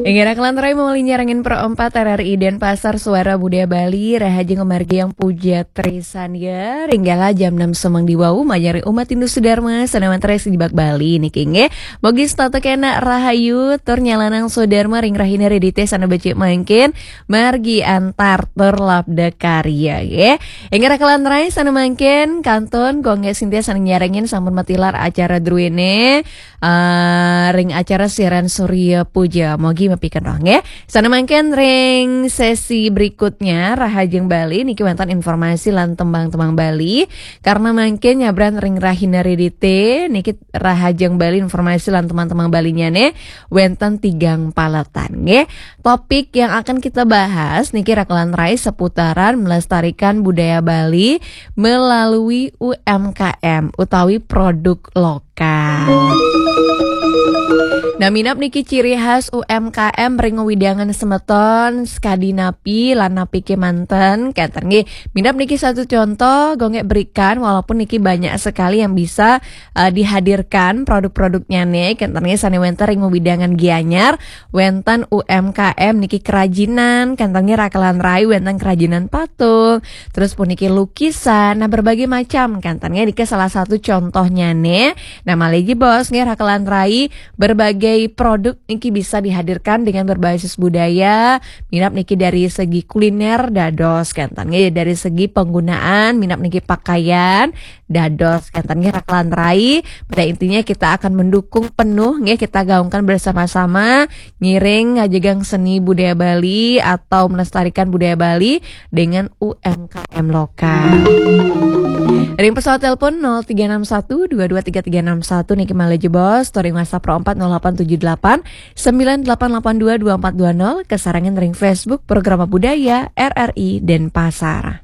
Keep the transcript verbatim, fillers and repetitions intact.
Inggih, rakelan rai mawali nyarengin Pro empat R R I Denpasar, Suara Budaya Bali, rahajeng pamargi Yang Puja Trisandya. Ring galah jam enam semeng diwau, majeng ring umat Hindu Sudarma, sane wenten ring Bali niki nggih. Mugi setata kena rahayu, tur nyalanang Sudarma ring rahina Redite sane becik mangkin, margi antar tur labda karya nggih. Inggih, rakelan rai sane mangkin, kantun Gung Sintia sane nyarengin sampun matilar acara druene, eh, ring acara siaran Surya Puja. Mugi mapiken roh nggih. Sane mangkin ring sesi berikutnya, Rahajeng Bali niki wenten informasi lan tembang-tembang Bali. Karena mangkin nyabran ring rahina Redite, niki Rahajeng Bali informasi lan tembang-tembang Balinyane wenten tigang paletan nggih. Topik yang akan kita bahas niki rakelan rai seputaran melestarikan budaya Bali melalui U M K M utawi produk lokal. Nah, minab niki ciri khas U M K M ring wewidangan semeton, sakadi napi lan napi kemanten, kenten nggih. Minab niki satu contoh, Gung berikan, walaupun niki banyak sekali yang bisa, eh, dihadirkan produk-produknyane, kenten nggih, sane wenten ring wewidangan Gianyar, wenten U M K M niki kerajinan, kenten nggih, rakelan rai wenten kerajinan patung, terus puniki lukisan, nah, berbagai macam, kenten nggih, niki salah satu contohnyane. Nah, malih jebos nggih, rakelan rai, berbagai produk niki bisa dihadirkan dengan berbasis budaya, minab niki dari segi kuliner dados, kenten nggih, dari segi penggunaan, minab niki pakaian dados, kenten nggih, rakelan rai. Pada intinya kita akan mendukung penuh nggih, kita gaungkan bersama-sama ngiring ngajegang seni budaya Bali atau melestarikan budaya Bali dengan U M K M lokal. Ring pesawat telepon nol tiga enam satu dua dua tiga tiga enam satu niki malih jebos, tur ring WhatsApp Pro empat nol delapan tujuh delapan sembilan delapan delapan dua dua empat dua nol, kasarengan ring Facebook Programa Budaya R R I Denpasar.